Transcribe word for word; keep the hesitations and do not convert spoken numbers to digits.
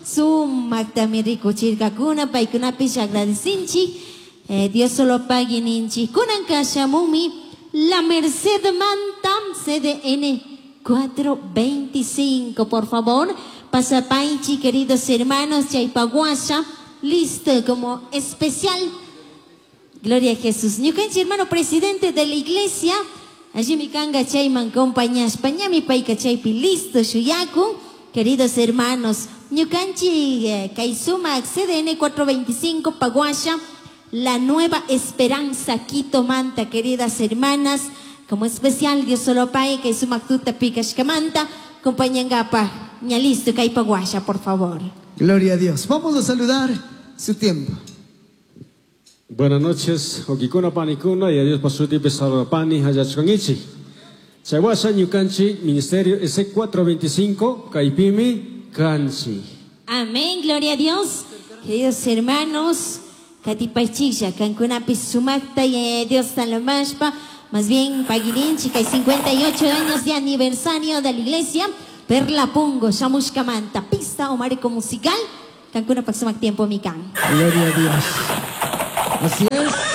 Sumaktami rikuchirkakuna paykunapish agradecinchik. Eh, Dios solo pague ninchik. Kunan shamumi La Merced Mantam C D N cuatrocientos veinticinco, por favor. Pasapaichi, queridos hermanos, chaypaguasha, listo como especial. Gloria a Jesús. Ñukanchik hermano presidente de la iglesia, allí mi kanga chayman compañashpa, ñami payka chaypi listo shuyakun. Queridos hermanos, ñukanchik eh, kay sumak C D N cuatrocientos veinticinco paguasha, La Nueva Esperanza Quito manta, queridas hermanas, como especial Dios solo pague kay sumak tuta pikashkamanta, acompañangapa, ña listo kay paguasha, por favor. Gloria a Dios. Vamos a saludar su tiempo. Buenas noches, huauquicuna panicuna, y a Dios pasutipi saludapani hallachkangichik. Chaywasha ñukanchik Ministerio S cuatrocientos veinticinco kaypimi kanchik. Amén, gloria a Dios. Queridos hermanos, katipaychiklla, kankunapi sumakta y Dios talamashpa, más bien paguirinchi, hay cincuenta y ocho años de aniversario de la iglesia, Perla Pongo, Shamushkamanta, pista o marco musical, kankuna sumak tiempo mikan. Gloria a Dios. Así es.